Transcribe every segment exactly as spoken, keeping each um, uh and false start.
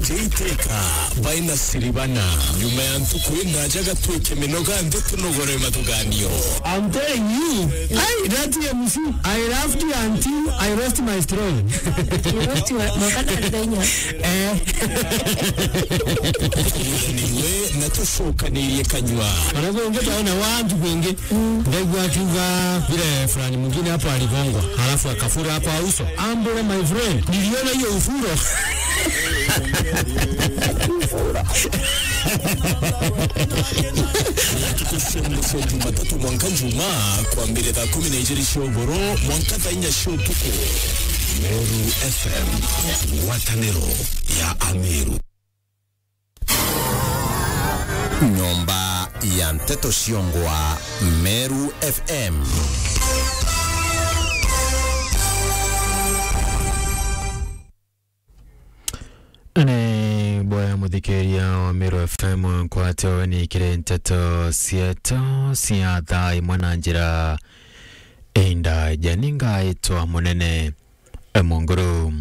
Teiteka baina siribana. Nyuma ya ntuku inaja gatwike minoga nthi tunogore mathuganio. I'm telling you, hey, that M C, I laughed until I lost my straw. You lost your, mokana ndenya. Eh. Niwe na tucokanirie kanywa. Wanakuongea taona watu wengi. Ndaigua akiuga vile fulani mwingine hapo aligongwa, halafu akafura kwa uso. Ambole, my friend, niliona hiyo ufuro. Tukusembe cia Jumatatu mwanka Njumaa, kwambire thaa kumi na ijiri cia ugoro mwanka thaa inya cia utuku. Meru F M, ngwataniro ya Ameru. Nyomba ya nteto ciongwa, Meru F M. Ni boya muthikiria wa Meru F M, nkwate weni kiri nteto cietu cia thaa imwe na njira indaja. Ni ngaitwa Munene Munguru.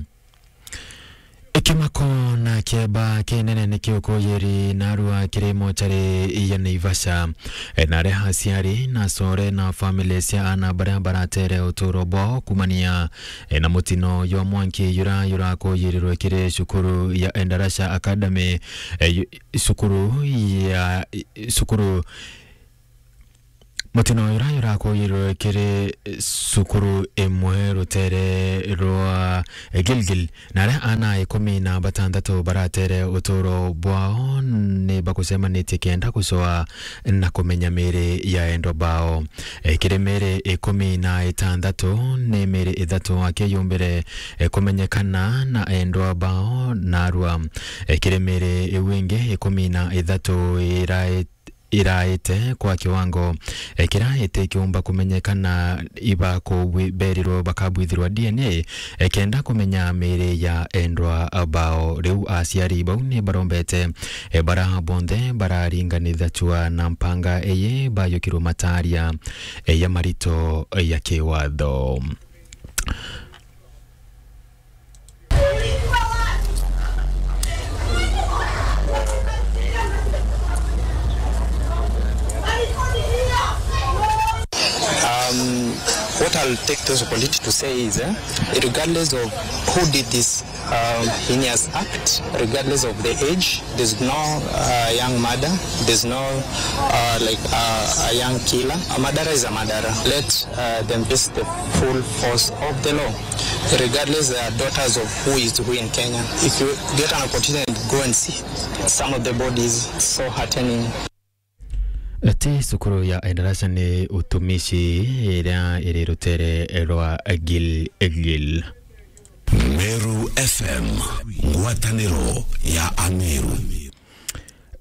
Ikimako na kieba kinene ni kiukuyiri narua kiri mochari ya Naivasha, e, na aria aciari na acore na family cia ana baria baratere uturo bwao kumania, e, na mutino jwa mwanki jura jurakuyirirwe kiri cukuru ya Endarasha Academy, e, yu-, cukuru ya, cukuru Mutino uyu urakuyirirwe kiri cukuru imwe rutere rwa Gilgil, na aria ana ikumi na batantatu baratere uturo bwao ni bakucemanitie kenda gucoa na kumenya miri ya endwa bao. E, kiri miri ikumi na itantatu, ni miri ithatu aki yumbire, e, kumenyekana na endwa bao narua. E, kiri miri iu ingi ikumi na ithatu irae iraite kwa kiwango, e, kiria itikiumba kumenyekana iba kubwi-, berirwe bakabwithirwa D N A, e, kenda kumenya miri ya endwa bao. Riu aciari bau ni barombete, e, bara bonthe bararinganithacua na mpanga iyi bayukirwe mataria, e, ya marito ya kiwatho. Um, what I'll take this opportunity to say is, eh, regardless of who did this, um, heinous act, regardless of the age, there's no, uh, young mother, there's no, uh, like, uh, a young killer. A murderer is a murderer. Let, uh, them face the full force of the law, regardless they are daughters of who is who in Kenya. If you get an opportunity, go and see some of the bodies, so heartening. Ti cukuru ya Endarasha, ni utumishi iria iri rutere rwa Gilgil. Meru F M, ngwataniro ya Ameru.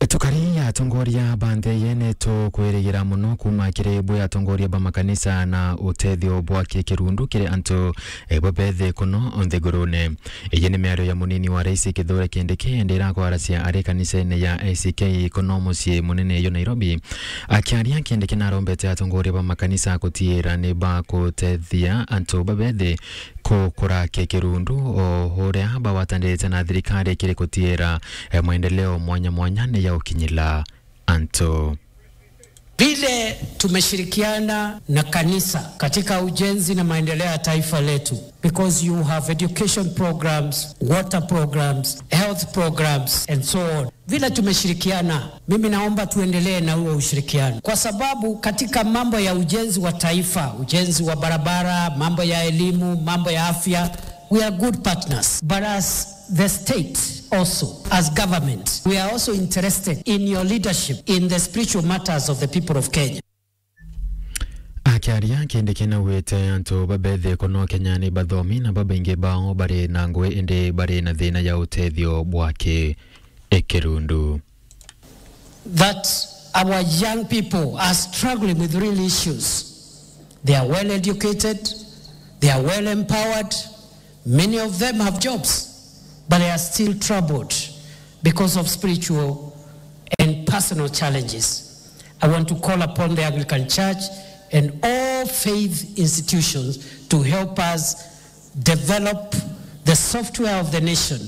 Tukari ya atongoria ba nthi iyi ni tukwirigira mono kuuma kiri bwi atongoria ba makanisa na utethio bwa kikirundu kiri antu, e, babethi kuno nthigurune. Iyi ni miario ya munini wa rais Kithure Kindiki, indi irakwaracia ari kanisene ya A C K kuno mucii munene yo Nairobi. Akiaria, Kindiki narombete atongoria ba makanisa gutiira ni bakutethia antu babethi kukura kikirundu, o uria bagwatanirite na thirikari kiri gutiira, e, maendeleo mwanya mwanya ni ya ukinyila antu. Vile tumeshirikiana na kanisa katika ujenzi na maendeleo ya taifa letu, because you have education programs, water programs, health programs and so on. Vile tumeshirikiana, mimi naomba tuendelee na huo ushirikiano, kwa sababu katika mambo ya ujenzi wa taifa, ujenzi wa barabara, mambo ya elimu, mambo ya afya, we are good partners. But as the state also, as government, we are also interested in your leadership in the spiritual matters of the people of Kenya. Akiaria, Kindiki naugite antu babethi kuno Kenya ni bathomi na babaingi bao bari na ngui, indi bari na thina ya utethio bwa ki-, ikirundu. That our young people are struggling with real issues. They are well educated, they are well empowered, many of them have jobs, but they are still troubled because of spiritual and personal challenges. I want to call upon the Anglican Church and all faith institutions to help us develop the software of the nation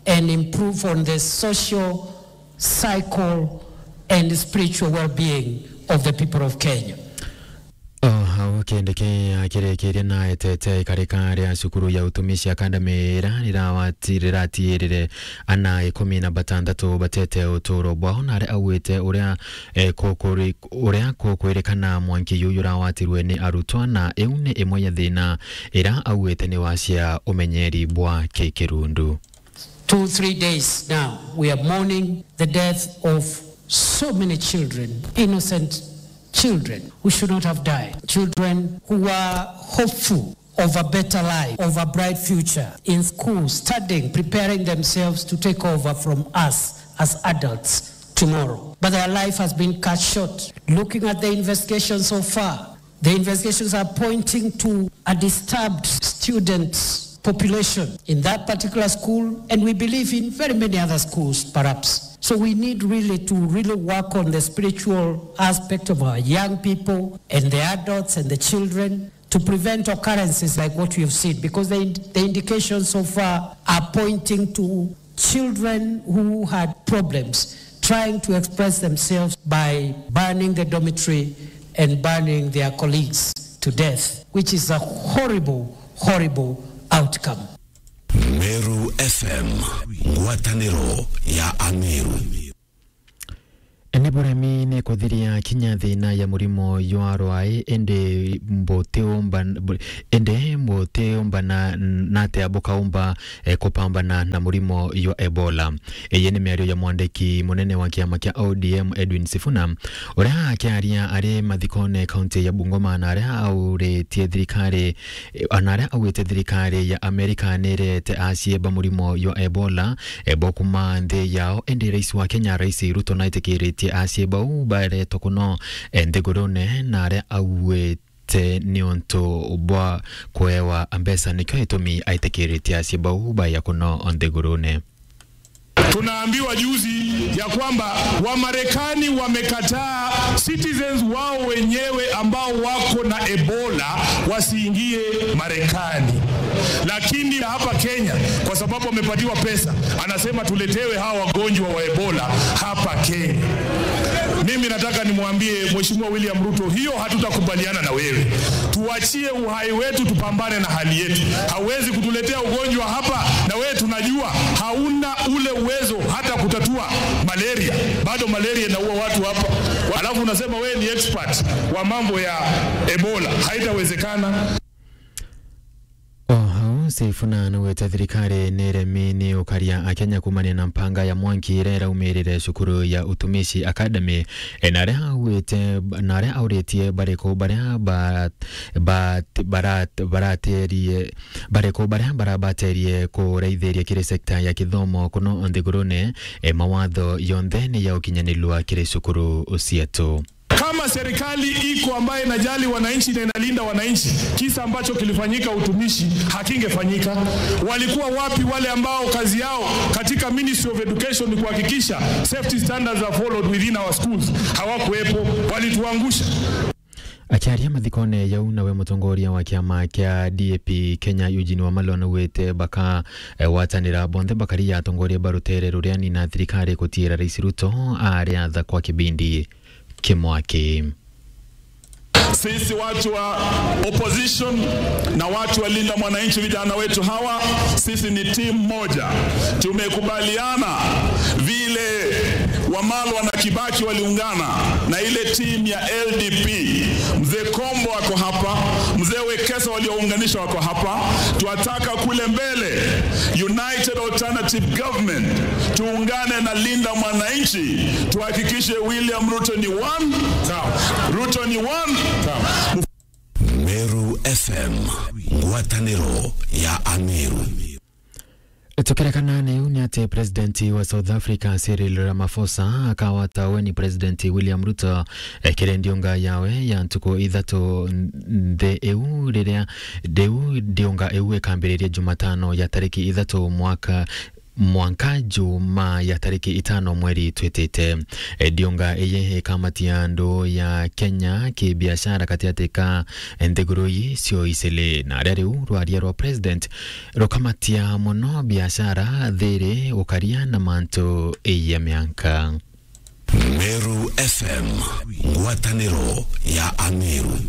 and improve on the social, psycho and spiritual well-being of the people of Kenya. O hau Kindiki akirikiria na etete ikarika ria cukuru ya Utumishi Academy ira rirawati-, riratiirire ana ikumi na batantatu batete uturo bwao, na aria augite uria, eh, kukuri-, uria kukwirikana mwanki yu jurawatirwe ni arutwa, na iu ni imwe ya thina ira augite ni wacia umenyeri bwa kikirundu. Two, three days now, we are mourning the death of so many children, innocent children who should not have died, children who were hopeful of a better life, of a bright future in school, studying, preparing themselves to take over from us as adults tomorrow. But their life has been cut short. Looking at the investigation so far, the investigations are pointing to a disturbed student population in that particular school, and we believe in very many other schools, perhaps. So we need really to really work on the spiritual aspect of our young people and the adults and the children to prevent occurrences like what we have seen, because the ind-, the indications so far are pointing to children who had problems trying to express themselves by burning the dormitory and burning their colleagues to death, which is a horrible, horrible outcome. Meru F M, ngwataniro ya Ameru. Ni buremi ni kuthiria kinya thina ya murimo jwa rwai, indi mbutiumba, bu-, indi mbutiumba na, na atia bukaumba, eh, kupambana na murimo jwa Ebola. Iyi ni miario ya mwandiki munene wa kiama kia O D M, Edwin Sifuna, uria akiaria ari mathikone kaunti ya Bungoma, na aria auritie thirikari, eh, na aria augite thirikari ya Amerika ni irete aciimba murimo jwa Ebola, eh, bo kuma nthi yao. Indi rais wa Kenya, Rais Ruto, naitikiritie aciimba bau baretwe kuno, eh, nthigurune, na aria augite ni untu bwa kuewa mbeca, nikio gitumi aitikiritie aciimba bau baja kuno nthigurune. Tunaambiwa juzi ya kwamba Wamarekani wamekataa citizens wao wenyewe ambao wako na Ebola wasiingie Marekani. Lakini hapa Kenya, kwa sababu wamepatiwa pesa, anasema tuletewe hawa wagonjwa wa Ebola hapa Kenya. Mimi nataka nimwambie Mheshimiwa William Ruto, hiyo hatutakubaliana na wewe. Tuachie uhai wetu, tupambane na hali yetu. Hauwezi kutuletea ugonjwa hapa, na wewe tunajua hauna ule uwezo hata kutatua malaria. Bado malaria inaua watu hapa. Alafu unasema wewe ni expert wa mambo ya Ebola. Haitawezekana. O hau, Sifuna naugite thirikari ni iremi ni ukaria Akenya kumania na mpanga ya mwanki iria iraumirire cukuru ya Utumishi Academy. E, na aria augite, na aria auritie bariku baria ba, ba, bara-, baraterie, bariku baria barabaterie kuraithiria kiri sekta ya kithomo kuno nthigurune, e, mawatho yonthe ni ya ukinyanirua kiri cukuru cietu. Kama serikali iko ambaye inajali wananchi na inalinda wananchi, kisa ambacho kilifanyika Utumishi hakingefanyika. Walikuwa wapi wale ambao kazi yao katika Ministry of Education ni kuhakikisha safety standards are followed within our schools? Hawakuwepo, walituangusha. Akiaria mathikone jau, nawe mutongoria wa kiama kia D A P Kenya, Eugene Wamalwa, naugite baka, eh, gwatanira bonthe bakari ya atongoria ba rutere ruria ni na thirikari gutiira Rais Ruto ariatha kwa kibindi kimwaki. Sisi watu wa opposition na watu wa Linda Mwananchi, vijana wetu hawa, sisi ni timu moja. Tumekubaliana vile Wamalwa na Kibaki waliungana na ile timu ya L D P. Mzee Kombo ako hapa, Mzee Wekesa waliounganisha wako hapa. Twataka kule mbele, United Alternative Government, tuungane na Linda Mwananchi, tuhakikishe William Ruto ni one. Sawa. Ruto ni one. Sawa. Meru F M, ngwataniro ya Ameru. Tukirekana na iu, ni ati President wa South Africa, Cyril Ramaphosa, akawata weni President William Ruto, eh, kiri ndiunga yawe ya ntuku ithatu nthi iu riria, riu ndiunga iu ikambiriria Jumatano ya tariki ithatu mwaka mwanka Juma ya tariki itano mweri twitite. Ndionga iyi ikamatia andu ya Kenya kibiashara gatiati ka nthiguru ii cio icili, na aria riu rwaria rwa president rukamatia mono biashara, thiri, ukaria na mantu ya mianka. Meru F M, ngwataniro ya Ameru.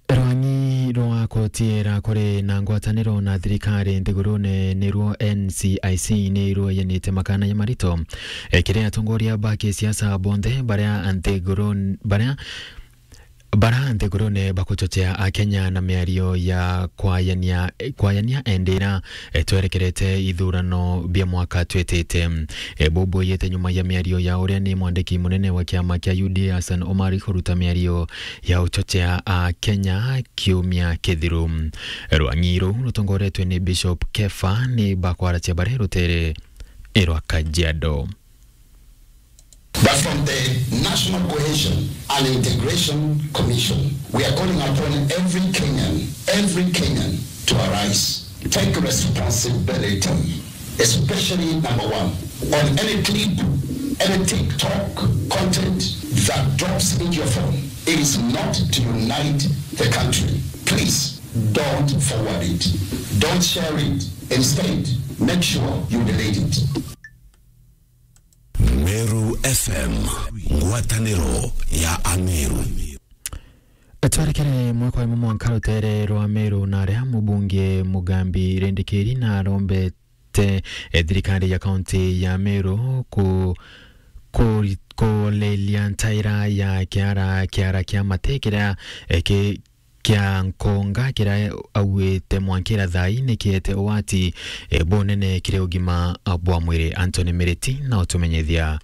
Rwang'i rwa koti irakuri na ngwataniro na thirikari nthigurune niruo N C I C nirueyanite makana ya marito, e, kiri atongoria ba kisiasa bonthe baria nthiguru-, baria, bara nthigurune bakuchochea Akenya na miario ya kwayania, kwayania endira e, twerekerete ithurano bia mwaka twitite. E, bubu yete nyuma ya miario ya uria ni mwandiki munene wa kiama kia U D A Hassan Omari kuruta miario ya uchochea Akenya kiumia kithiru. Rwang'i ruu rutongoretwe ni Bishop Kefa ni bakwaracia bare rutere rwa Kajiado. But from the National Cohesion and Integration Commission, we are calling upon every Kenyan, every Kenyan to arise, take responsibility, especially number one, on any clip, any TikTok content that drops into your phone. It is not to unite the country. Please don't forward it. Don't share it. Instead, make sure you delete it. Meru F M, ngwataniro ya Ameru. Twerekere mwaka wa mwanka rutere rwa Meru, na aria mubunge Mugambi Rindikiri na arombete, e, thirikari ya kaunti ya Meru ku-, ku-, kulelia ntaira ya kiara, kiara kia mate kiria, e, ki-, kia Nkonga kiria auite mwankira thaa ii ni kiete ugwati, e, bunene kiri ugima bwa mwiri. Anthony Miriti na utumenyethia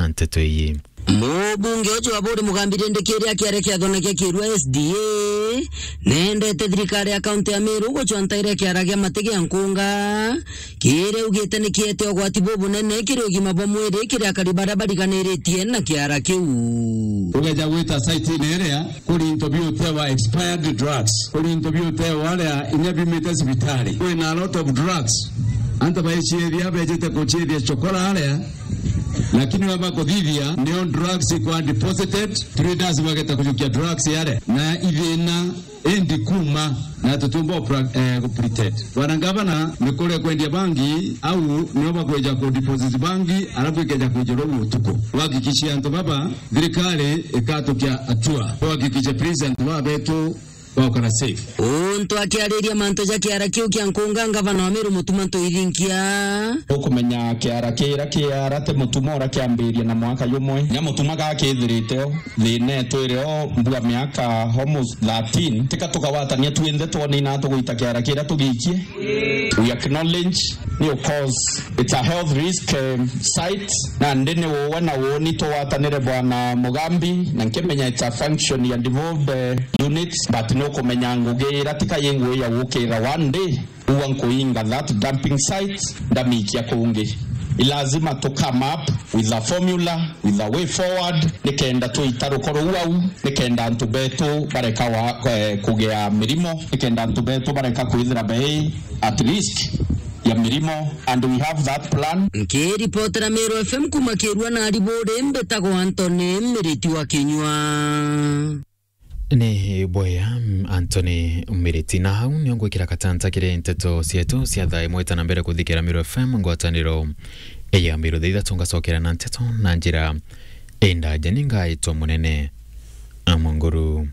nteto ii. Mubunge uju wa Buri Mugambi Rindikiri akiaria kiathone kia Kirua S D A, nendete thirikari ya kaunti ya Meru gucwa ntaira kiara gia mate gia Nkonga, kiria augite ni kiete ugwati bubunene kiri ugima bwa mwiri kiri akari baria bariganiritie na kiara kiu. Ugeja gwita site-ini iria, kuri into biutewa expired drugs, kuri into biutewa aria inya biumite cibitari. Kwina a lot of drugs. Antu baiciithia, bejite kuciithia chokora aria, lakini baba kuthithia, nio drugs ikwa deposited, traders bageta kujukia drugs aria. Na ithina indi kuma na tutiumba kupra-, eh, kupretend. Bwana Ngavana, ni kuria kwendia bangi, au nio bakweja ku deposit bangi, alafu ikeja kwijirwa utuku. Wahakikishie antu baba, thirikari ikatukia hatua. Wahakikishe prison wa betu baukara safe. Untu akiariria mantu ja kiara kiu kia Nkonga, Ngavana wa Meru Mutuma Ntuithinkia. Ukumenya kiara kiria kiara ti Mutuma uria kiambiria na mwaka jumwe. Nya Mutuma gakithirite o. Thina itwire o mbua miaka almost thirteen, tika tukawatania twinthe twone ina tugwita kiara kiria tugiikie. We acknowledge, ni of course, it's a health risk, um, site, na ndi ni uwe na uuni tugwatanire Bwana Mugambi, na nkimenya it's a function ya devolved, uh, units, but ni ukumenya ngugi ira tika yi ngugi ya gukira one day. Ua nkuinga that dumping site, ndamikia kungi. I lazima to come up with a formula, with a way forward, nikenda tuita rukoro ruu au, nikenda antu betu bareka wa, eh, kugia mirimo, nikenda antu betu bareka kwithira bei at risk ya mirimo, and we have that plan. Nkiripotera Meru F M kuma Kirua na Ariburi, mbitagwa Anthony Miriti wa Kinyua. Ni bwega, mm, Anthony Miriti. Na hau nio ngwikira katanta kiri nteto cietu cia thaa imwe ta na mbere kuthikira Meru F M ngwataniro ya Meru. Thaa ithatu ngacokera na nteto na njira indaja. Ni ngaitwa Munene Amonguru.